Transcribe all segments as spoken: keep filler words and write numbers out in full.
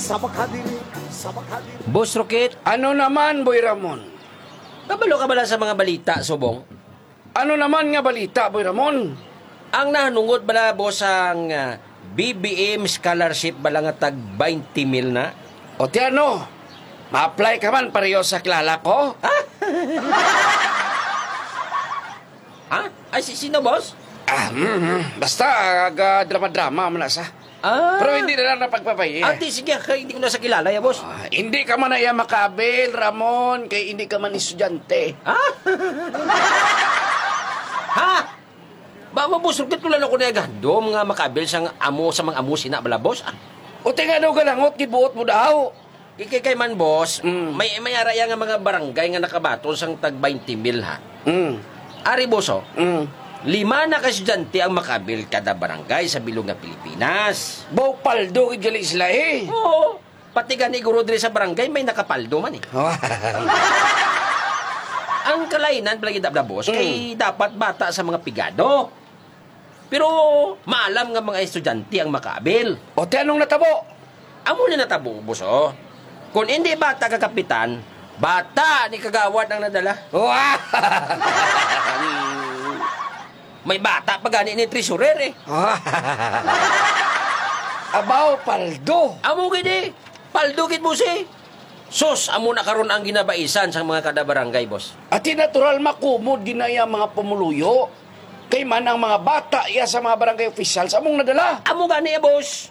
Sa makadiri, sa makadiri. Boss Rocket, ano naman, Boy Ramon? Kabalo ka bala sa mga balita, Subong? Ano naman nga balita, Boy Ramon? Ang nahanungod bala, boss, ang, ah, B B M scholarship bala nga tag twenty mil na? O ti ano, ma-apply ka man pareho sa kilala ko? Ha? Ha? Ay, si sino, boss? Ah, mm, mm. Basta, aga drama-drama man na sa. Ah. Pero hindi na lang na pagpapay, eh. Ate, sige, kay hindi ko na sa kilala, ya, boss. Ah, hindi ka man na iya makabil, Ramon, kay hindi ka man estudyante. Ha? Ha? Ba, ba, boss, rugit ko lang ako na gandom nga makabil sang amo sa mga amo sina bala, boss, ah. O, tinga daw galangot, gibuot mo daw. Ikikay man, boss, Mm. may, may araya nga mga barangay nga nakabaton sang tag twenty mil, ha? Mm. Ari, boss, oh. Mm. Lima na ka estudyante ang makabil kada barangay sa bilog nga Pilipinas. Baw paldo gid gali sila, eh. Oo. Pati gani guro diri sa barangay may nakapaldo man, eh. Ang kalainan pala gid, boss, Mm. kay dapat bata sa mga pigado. Pero maalam nga mga estudyante ang makaabil. O, ti anong natabo? Amo ni natabo, boss, oh. Kung hindi bata ka kapitan, bata ni kagawad ang nadala. Wow! May bata pa gani ni treasurer, eh. Abaw, paldo. Amo gid, eh. Paldo gid, boss, eh. Sus, amo na karon ang ginabaisan sa mga kada barangay, boss. Ati natural makumod ginaya mga pumuluyo. Kay man ang mga bata iya sa mga barangay officials among nadala. Amo gani, eh, boss.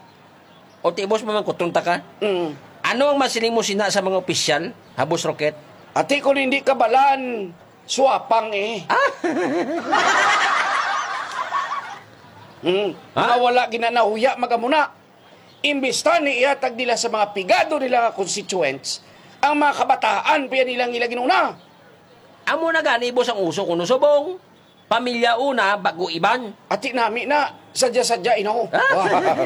O ti, boss, mamangkuton ta ka? Mm. Ano ang masiling mo sina sa mga opisyal, ha, Boss Rocket? Ati, kung hindi ka balan, suwapang, eh. Ah? Hmm. Ha? Mga wala ginanahuya, magamuna. Imbis ta ni ihatag nila sa mga pigado nila nga constituents, ang mga kabataan pa nilang ila ginuna. Amo na gani, boss, ang uso kuno, Subong. Pamilya una, bago iban. Ati nami na, sadya-sadya, inaw. Ah?